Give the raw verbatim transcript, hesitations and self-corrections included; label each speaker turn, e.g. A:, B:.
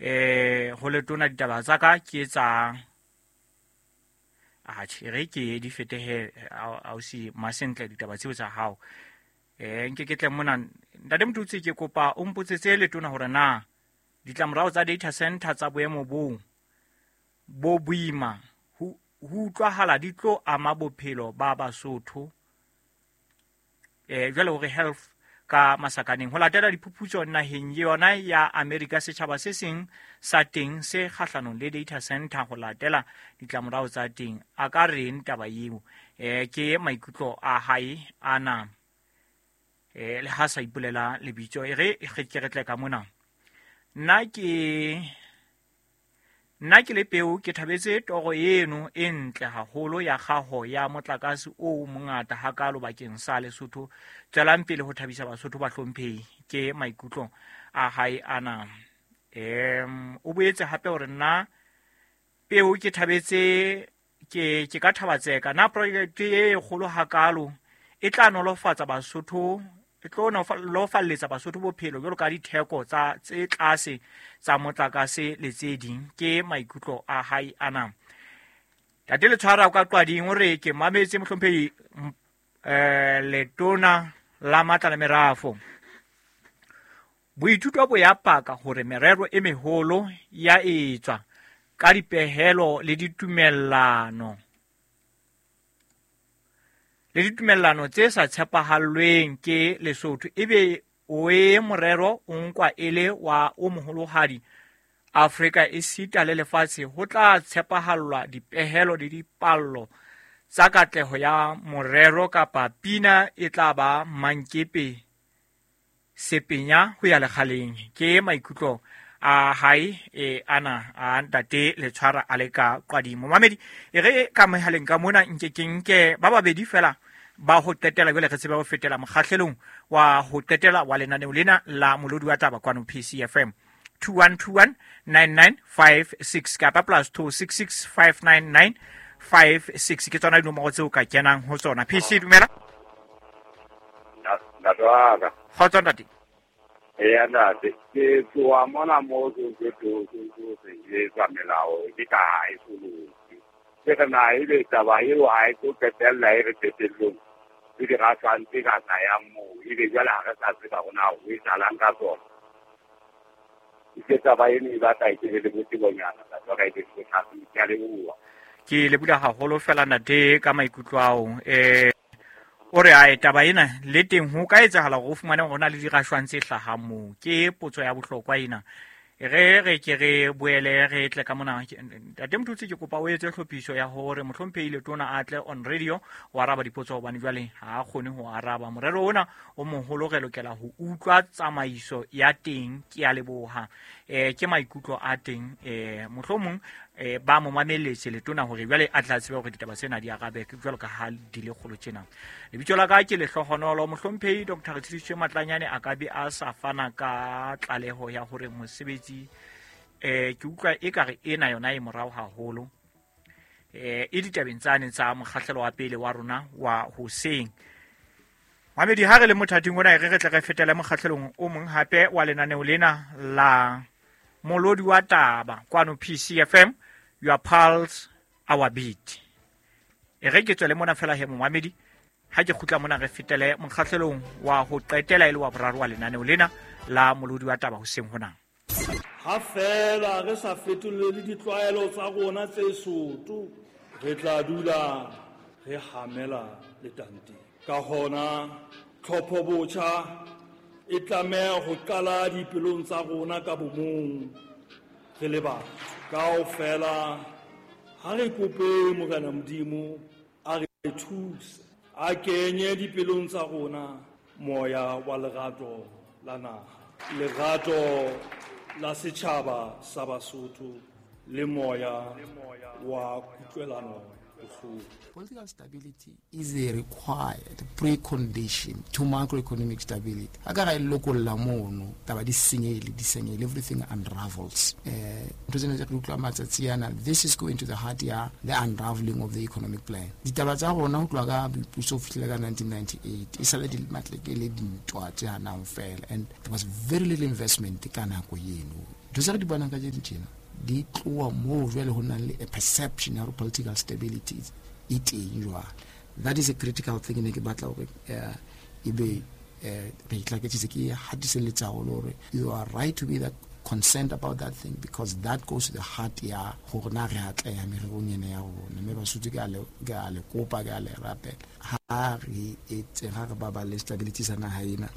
A: Eh ho letona ditaba tsa ka ke tsa atjhe re ke di fetehe ausi Masentle ditaba tseo tsa hao. Eh nke ke tle mona ntate Motutsi, ke kopa o mpotsetse letona hore na ditlamorao tsa data center tsa boemo bo bo boima ho utlwahala di tlo ama bophelo ba Basotho eh jwale hore health ka masakaneng. Ho latela diphuputso naheng yona ya America, setjhaba se seng sa teng se kgahlanong le data center ho latela ditlamorao tsa teng. A ka reng taba eo? Eh ke maikutlo a hae ana, eh le ha sa ipolela lebitso. E re ke re tle ka mona. Nna ke nna ke le peo ke thabetse toro eno e ntle haholo ya kgaho ya motlakase o mongata hakalo bakeng sa Lesotho. Tswelang pele ho thabisa Basotho ba hlomphehi. Ke maikutlo a hae ana. Em o boetse hape hore nna peo ke thabetse ke ke ka thabatseka na project e kgolo hakalo e tla nolofatsa Basotho, e tlo nolofalletsa Basotho bophelo jwalo ka ditheko tsa tse tlase tsa motlakase le tse ding. Ke maikutlo a hae ana. Tate Letshwara ka Qwading o re ke mametse mohlomphehi eh letona la matla le merafo. Boithuto bo ya paka hore merero e meholo ya etswa ka dipehelo le ditumellano le ditumellano tse sa tshepahallweng ke Lesotho, ebe o e morero o nkwa e le wa o moholohadi Afrika esita le lefatshe. Ho tla tshepahallwa dipehelo le dipallo tsa katleho ya morero kapa pina e tla ba mankepe sepenya ho ya lekgaleng. Ke maikutlo a hae e ana a ntate Letshwara a le ka Qwading. Momamedi e re ka mohaleng ka mona nke ke nke ba babedi fela ba ho qetela jwale re tsebe ho fetela mokgahlelong wa ho qetela wa lenaneo lena la Molodi wa Taba kwano P C F M. Two one two one nine nine five six kapa plus two six six five nine nine five six ke tsona dinomoro tseo ka kenang ho tsona. P C dumela.
B: Ntate wa ka.
A: Kgotso ntate.
B: Eya ntate, ke tloha mona moo ke tlo etsa melao ke ka ha e soloke. Ke re na ebe taba eo ha e tlo qetella e re qetellong le dirashwang tse ka tlayang moo, ebe jwale ha re sa tseba hore na ho etsahalang ka tsona. Ke taba eno e batla e ke le botebonyana, ntate wa ka, e be le bothata. Ke a leboha.
A: Ke leboha haholo fela ntate ka maikutlo ao. Eh o re ae taba ena le teng ho ka etsahala hore o fumane hore ho na le dirashwang tse hlahang moo. Ke potso ya bohlokwa ena. E re re ke re boele re tle ka mona. Ntate Motutsi, ke kopa o etse tlhophiso ya hore mohlomphehi letona a tle on radio ho araba dipotso hobane jwale ha a kgone ho araba. Morero ona o moholo re lokela ho utlwa tsamaiso ya teng. Ke a leboha. Eh ke maikutlo a teng. Eh mohlomong eh ba mo mameletse letona hore jwale a tla tsebe hore ditaba tsena di arabe jwalo ka ha di le kgolo tjena. Lebitso la ka ke Lehlohonolo. Mohlomphehi Doctor Retshidiswe Matlanyane a ka be a sa fana ka tlaleho ya hore mosebetsi eh ke utlwa ekare ena yona e morao haholo eh e ditabeng tsane tsa mokgahlelo wa pele wa rona wa hoseng. Mamedi ha re le mothating ona e re re tle re fetele mokgahlelong o mong hape wa lenaneo lena la Molodi wa Taba kwano P C F M, your pulse our beat. E re ke tswele mona fela he momamedi, ha ke kgutla mona re fetele mokgahlelong wa ho qetela e le wa boraro wa lenaneo lena la Molodi wa Taba hoseng hona.
C: Ha fela re sa fetolele ditlwaelo tsa rona tse soto, re tla dula re hamela letanteng. Ka hona tlhopho botjha e tlameha ho qala dipelong tsa rona ka bomong re le batho. Kaofela ha re kope Morena Modimo a re thuse, a kenye dipelong tsa rona moya wa lerato la naha, lerato la setjhaba sa Basotho le moya wa kutlwelano bohloko.
D: Political stability is a required precondition to macroeconomic stability. Ha ka ra e lokolla mono, taba di senyehile, di senyehile, everything unravels. Eh, ntho tsena tse re utlwa matsatsi ana, this is going to the heart ya the unraveling of the economic plan. Ditaba tsa rona ho tloha ka boipuso ho fihlela ka nineteen ninety-eight, e sale di matleke le dintwa tse hanang fela, and there was very little investment ka nako eno. Ntho tse re di bonang kajeno tjena di tloha moo jwale ho nang le a perception ya hore political stability e teng jwale. That is a critical thing ne ke batla hore eh, ebe eh, re itlaketsitse ke hatiselletsa haholo hore you are right to be that concerned about that thing, because that goes to the heart ya hore na re atleha mererong ena ya rona. Mme Basotho ke a le, ke a le kopa, ke a le rapela, ha re etse, ha re baballe stability sa naha ena.